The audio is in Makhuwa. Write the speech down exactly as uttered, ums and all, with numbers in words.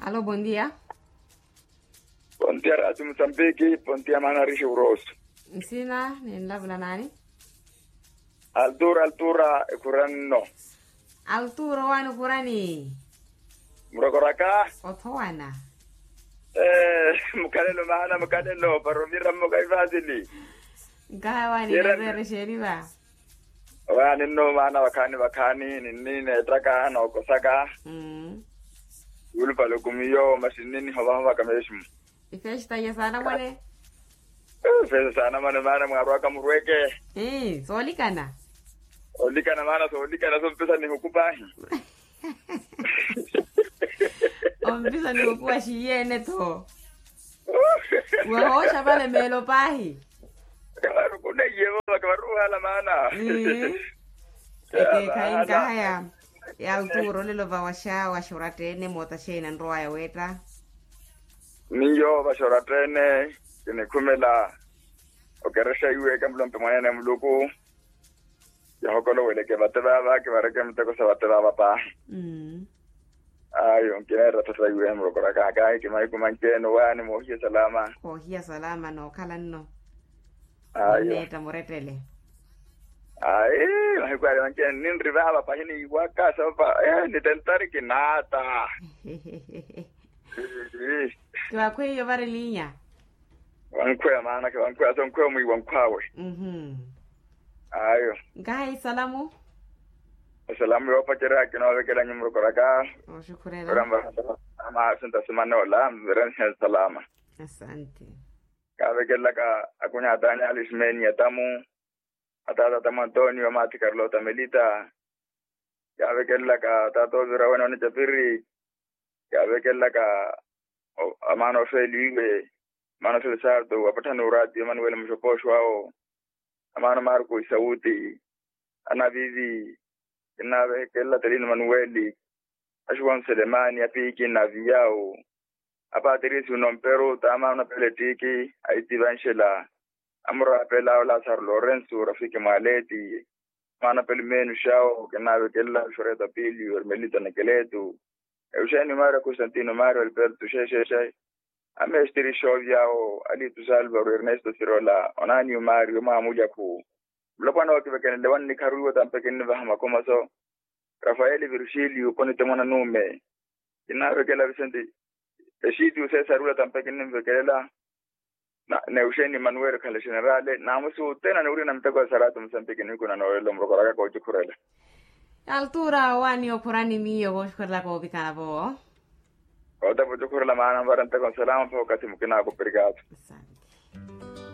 Alo, bondia. Bondia rati musambiki, bondia maana rixi uroso. Nsina ninlavula nani? Altura altura ekhurani nno. Altura owani okhurani? Murokoraka. Othowana. Mukhalelo maana mukhalelo para ovira mmoka ivazili. Nkaha wani nereerexeriva. Wani nno maana vakhaani vakhaani ninni neettaka nookosaka. Yulupale okumiyo masi ninni nihovahovaka meximu. Ifeesta iya saana mwane. Ifeesta saana mwane maana mwaarwaka murweke. Soolikana. Olikana maana soolikana sompisa nihuku paahi. Ompisa nihuku wa xiiyene tho. Wahooxa vale meelo paahi. Kavarukuneyevo kavaruhala maana. Ekeekhayi nkahaya. Yalturo lelo vawaxa waxorattene moota xeina nrowaya weetta. Miyo vaxorattene kinikhumela okerexa iwe kamulompe mwanene muluku. Yahokoloweleke vate vaava kivareke miteko sa vate vaava paahi. Ayo nkineetta thatta iwe mulokoraka kahi kimahiku manci-ene owaani moohiya salama. Koohiya salama nookhala nno. Ayo. Nneetta murettele. Ayi mahiku ale manci-ene ninri vaava pahi niiwaka soopa. Nitentari kinaata. Kiwakhweiyo vari liinya. Wankhweya maana kiwankhweya sonkhweya omwiiwa nkhwaawe. Ayo. Nkaha isalamu. Esalamu yoopacerya kinoovekelanyu murokoraka. Oxukhurela. Ora mvaha ama asinta simana ola mvirenhe salama. Asante. Kaavekelelaka akunyaataani ali simeni atamu. Ataata atamu antonio amaathi karlota melita. Yaavekelelaka taata ovira wene onicapiri. Yaavekelelaka amaana ofeeliwe. Amaana ofeeli sarto apatthani uraati emanuweli muxopooxo awo. Amaana marko isawuti. Anavivi. Kinaavekelela telino manuweli. Axuwa nselemani apiiki naaviyawu. Apatirisi unomperu taamaana onapela ettiiki. Aitivanxela. Amurapela awo lasaro lorensu rafiki mwaleti. Maana pelu meenu xawo kinaavekelela xoreta pili ormelita nekeletu. Euxeni mario constantino mario alberto xexexe. Amestiri xoovi awo alitu salvaro ernesto sirola onani mario mwamulyakhu. Mulopwana wakivekenele wannikharu iwo tampe kinnivaha makomaso. Rafaeli virgilio ponite mwana nuume. Kinnaavekela visenti. Exitiyo sesarula tampe kinnimvekelela. Neuxeni manuweli okhale generale naamusi utena niwurina miteko ya saratu musempiki nihiku na noolelo murokoraka koocukhurela. Altura owaani okhurani miyo koocukhurela koovikana vo. Kootapa ocukhurela maana mvara nteko nsalama mpaka okathi mukinaaka operikaato.